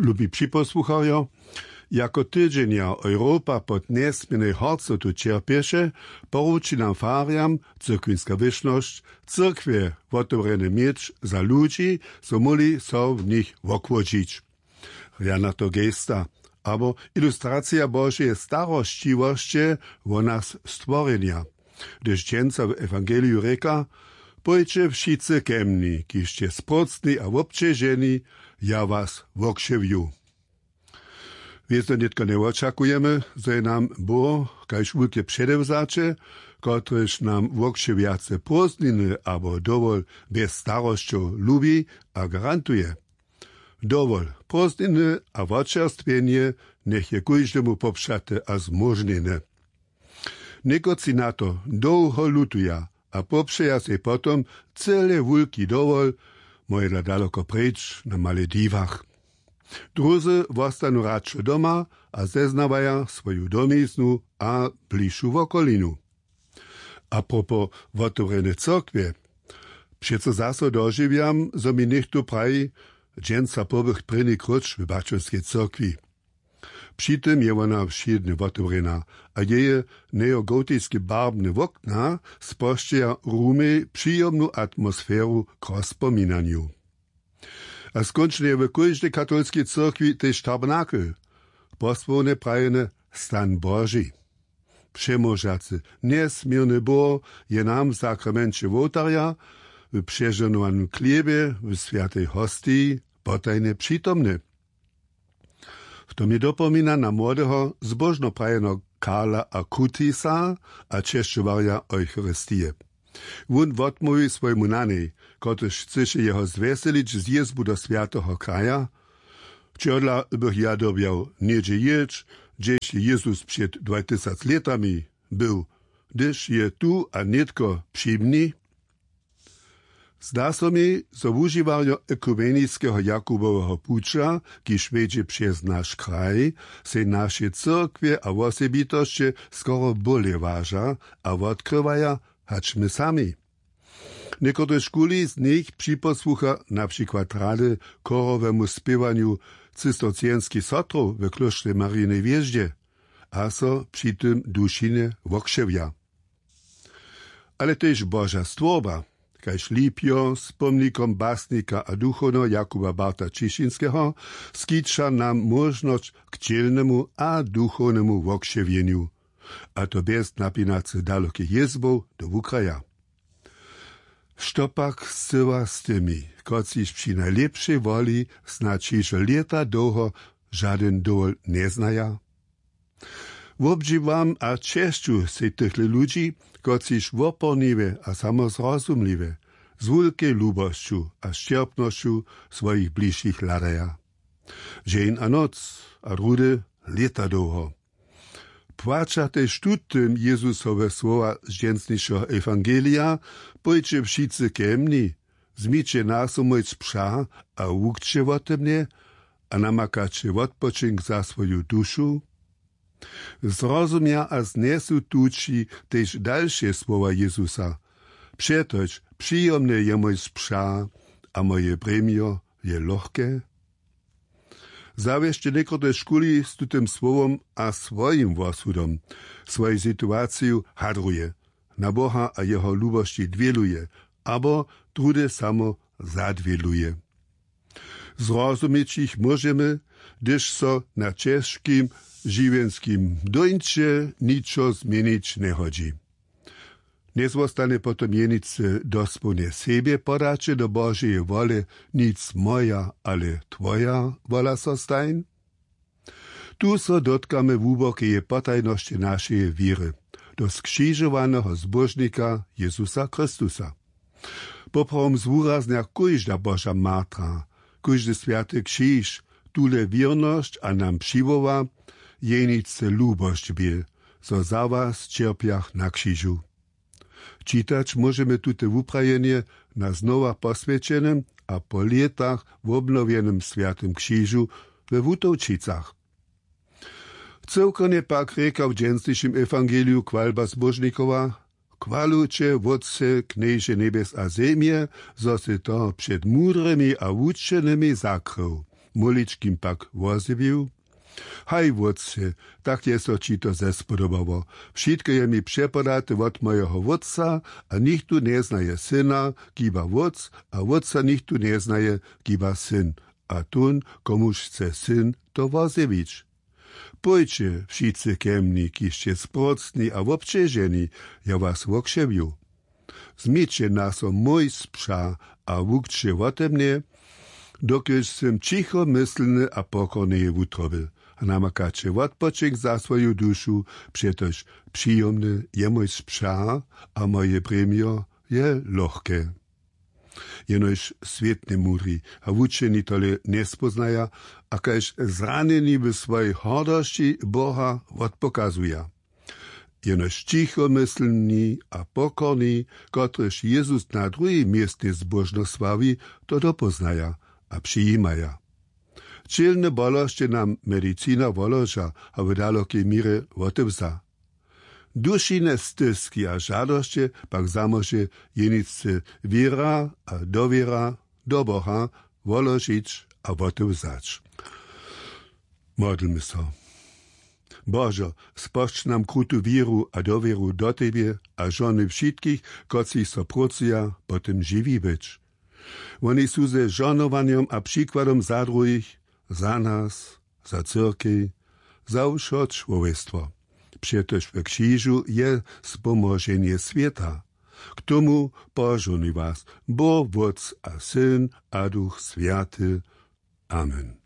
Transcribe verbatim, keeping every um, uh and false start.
Lubi připosłucharjo, jako tydźenja Europa pod njesměrnej horcotu ćerpješe, poruči nam farjam cyrkwinska wyšnosć, cyrkwje wotewrjene měć za ludźi, zo móhli so w nich wokłodźić. Rjana to gesta, abo ilustracija Božeje starosćiwosće wo nas stworjenja. Hdyž dźensa w ewangeliju rěka: „Pójće wšitcy ke mni, kiž sće sprócni a wobćeženi, ja was wokřiwju.“ Wězo nětko njewočakujemy, zo je nam Bóh kaž wulke předewzaće, kotrež nam wokřiwjace prózdniny abo dowol bjez starosćow lubi a garantuje. Dowol, prózdniny a wočerstwjenje njech je kóždemu popřate a zmóžnjene. Někotři na to dołho lutuja a popřeja sej potom cyle wulki dowol, móhedla daloko preč na Malediwach. Druzy wostanu radšo doma a zeznawaja swoju domiznu a bližšu wokolinu. A propos wotewrjene cyrkwje, přeco zaso dožiwjam, zo mi něchtó praji: „Dźensa pobych prěni króć w baćerskej cyrkwi.“ Při tym je wona wšědnje wotewrjena a jeje neogotiske barbne wokna spožčeja rumej přijomnu atmosferu k rozpominanju. A skónčnje je w kóždej katolskej cyrkwi tež tabernakel, posłowne prajene stan Boži. Přemóžacy, njesměrny Bóh je nam w sakramenće wołtarja, w přežohnowanym chlěbje, w swjatej hostiji potajnje přitomny. To mi dopomina na młodeho zbóžnoprajeneho Karla Akutisa a česćowarja Eucharistije. Wón wotmołwi swojemu nanej, kotryž chcyše jeho zwjeselić zjězbu do swjateho kraja: „Čehodla bych ja dyrbjał něhdźe jěć, hdźež je Jezus před dwaj tysac lětami był, hdyž je tu a nětko při mni?“ Zda so mi, zo wužiwarjo ekumeniskeho Jakuboweho puća, kiž wjedźe přez naš kraj, sej naše cyrkwje a wosebitosće skoro bóle waža a wotkrywaja, hač my sami. Někotrež kuli z nich připosłucha na přikład rady chorowemu spěwanju cistercienskich sotrow w klóštrje Marineje Hwězdźe a so při tym dušinje wokřiwja. Ale tež Boža stwórba, kaž lipjo z pomnikom basnika a duchowneho Jakuba Barta Ćišinskeho, skića nam móžnosć k ćělnemu a duchownemu wokřiwjenju. A to bjez napinacy dalokich jězbow do wukraja. Što pak scyła z tymi, kotřiž při najlěpšej woli snadź hižo lěta dołho žadyn dowol njeznaja? Wobdźiwam a česću sej tychle ludźi, kotřiž woporniwje a samozrozumliwje, z wulkej lubosću a sćerpnosću swojich bližšich hladaja. Dźeń a noc a rudy lěta dołho. Płaća tež tutym Jezusowe słowa z dźensnišeho ewangelija: „Pójće wšitcy ke mni, zmyće naso mój spřah a wukće wote mnje, a namakaće wotpočink za swoju dušu.“ Zrozumja a znjesu tući tež dalše słowa Jezusa: „Přetož přijomne je mój spřah a moje brěmjo je lochke.“ Zawěsće někotrež kuli z tutym słowom a swojim wosudom, swoju situaciju hadruje, na Boha a jeho lubosći dwěluje abo druhdy samo zadwěluje. Zrozumić jich móžemy, hdyž so na ćežkim žiwjenskim dóńće ničo změnić njehodźi. Njezwostanje potom jeničce dospołnje sebje podaće do Božeje wole: „Nic moja, ale twoja wola so stań“? Tu so dotkamy hłubokeje potajnosće našeje wěry, do skřižowaneho Zbóžnika Jezusa Chrystusa. Poprawom zwuraznja kóžda Boža martra, kóždy swjaty křiž, tule wěrnosć a nam přiwoła: „Jeničce lubosć bě, zo za was ćerpjach na křižu.“ Čitać móžemy tute wuprajenje na znowa poswjećenym a po lětach wobnowjenym swjatym křižu we Wutowčicach. Cyłkownje pak rěka w dźensnišim ewangeliju chwalba Zbóžnikowa: „Chwalujće, Wótče, Knježe njebjes a zemje, zo sy to před mudrymi a wučenymi zakrył. Móličkim pak wozjewił: Haj wótče, tak je so ći to zespodobało. Wšitko je mi přepodate wót mójeho wótca, a nichtó njeznaje syna, kiba wótc, a wótca nichtó njeznaje, kiba syn, a tón, komuž chce syn to wozjewić. Pójće wšitcy ke mni, kiž sće sprócni a wobćeženi, ja was wokřewju. Změće na so mój spřa a wukće wóte mnje, dokelž sym ćichomyslny a pokorny je wutrobył. A namakaće wótpočink za swoju dušu, přetož přijomny je mój spřa a moje brěmjo je lochke. Jenož swětnje mudri a wučeni tole njespóznaja, a kaž zranjeni w swojej hordosći Boha wotpokazuja. Jenož ćichomyslni a pokorni, kotryž Jezus na druhim městnje zbóžno sławi, to dopóznaja a přijimaja. Ćělne bolosće nam medicina woloža a w dalokej měrje wotewza. Dušine styski a žadosće pak zamóže jenicce wěra a dowěra do Boha woložić a wotewzać. Modlmy so. Božo, spožč nam krutu wěru a dowěru do tebje a žohnuj wšitkich, kotřiž so prócuja, po tym žiwi być. Woni su ze žohnowanjom a přikładom za druhich, za nas, za cyrkej, za wšo čłowjestwo. Přetož w křižu je spomoženje swěta. K tomu požohnuj was Bóh, Wótc a Syn a Duch Swjaty. Amen.